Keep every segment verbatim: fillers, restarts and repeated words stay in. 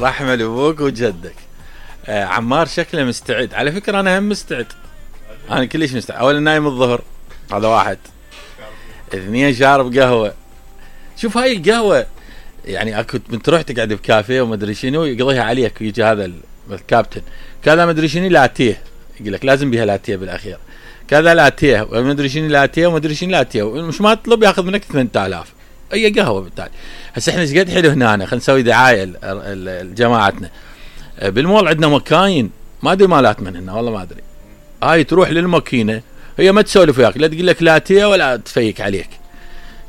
رحمة لابوك وجدك. آه عمار شكله مستعد. على فكرة انا هم مستعد، انا كلش مستعد. اولا نايم الظهر، هذا واحد. اثنين شارب قهوة. شوف هاي القهوة يعني اكو من تروح تقعد بكافيه وما ادري شنو يقضيها عليك، ويجي هذا الكابتن كذا ما ادري شنو لاتيه، يقول لك لازم بها لاتيه بالاخير، كذا لاتيه وما ادري شنو لاتيه وما ادري شنو لاتيه، مش ما تطلب ياخذ منك ثمانية آلاف اي قهوه. بالتالي هسه احنا ايش قد حلو هنا، خلينا نسوي دعايه لجماعتنا. بالمول عندنا مكاين ما ادري مالات من هنا والله ما ادري، هاي تروح للماكينه هي ما تسولف وياك، لا تقول لك لاتيه ولا تفيك عليك،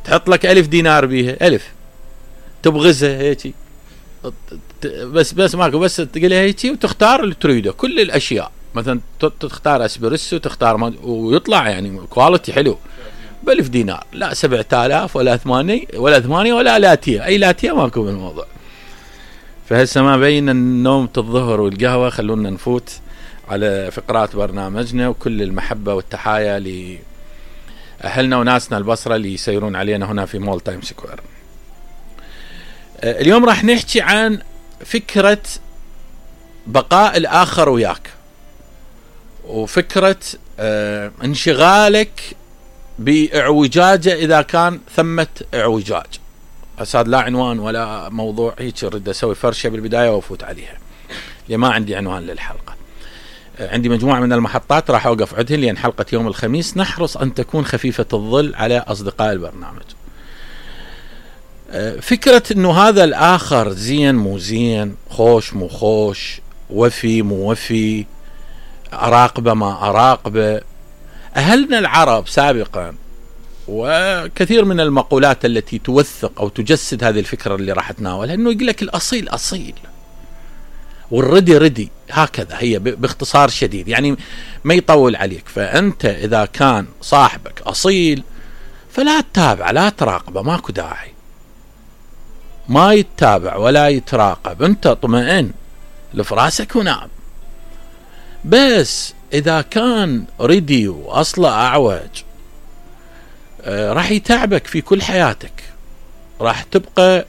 تحط لك ألف دينار بيها، ألف تبغزها هيك بس بس ماكو، بس تقولها هيك وتختار اللي تريده كل الاشياء، مثلا تختار اسبريسو تختار ويطلع يعني كواليتي حلو بألف دينار، لا سبعة آلاف ولا ثمانية ولا ثمانية ولا لاتيه، اي لاتيه ماكو بالموضوع. فهسه ما بين النوم الظهر والقهوه، خلونا نفوت على فقرات برنامجنا، وكل المحبه والتحايا لاهلنا وناسنا البصره اللي يسيرون علينا هنا في مول تايم سكوير. اليوم راح نحكي عن فكرة بقاء الآخر وياك، وفكرة اه انشغالك بإعوجاجه إذا كان ثمة إعوجاج. أساد لا عنوان ولا موضوع، هيك أريد أسوي فرشة بالبداية وأفوت عليها، لأن ما عندي عنوان للحلقة. اه عندي مجموعة من المحطات راح أوقف عندهن، لأن حلقة يوم الخميس نحرص أن تكون خفيفة الظل على أصدقاء البرنامج. فكرة انه هذا الاخر زين مو زين، خوش مو خوش، وفي مو وفي، اراقبه ما اراقبه. اهلنا العرب سابقا وكثير من المقولات التي توثق او تجسد هذه الفكرة اللي راح اتناولها، انه يقول لك الاصيل اصيل والردي ردي، هكذا هي باختصار شديد، يعني ما يطول عليك. فانت اذا كان صاحبك اصيل فلا تتابع لا تراقبه، ماكو داعي، ما يتابع ولا يتراقب، انت اطمئن لفراسك ونام. بس اذا كان ردي واصله اعوج آه راح يتعبك في كل حياتك، راح تبقى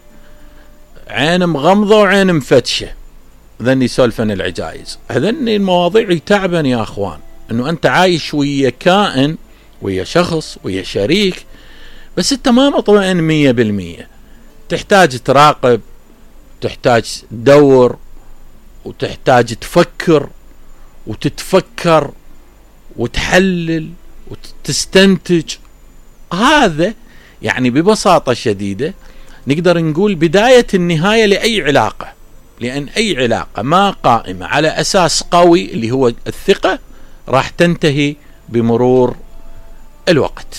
عين مغمضة وعين مفتشة. ذني سولفن العجايز، هذني المواضيع يتعبن يا اخوان، انه انت عايش ويا كائن، ويا شخص، ويا شريك، بس انت ما مطمئن مية بالمية. تحتاج تراقب، تحتاج تدور، وتحتاج تفكر وتتفكر وتحلل وتستنتج. هذا يعني ببساطة شديدة نقدر نقول بداية النهاية لأي علاقة، لأن أي علاقة ما قائمة على أساس قوي اللي هو الثقة راح تنتهي بمرور الوقت.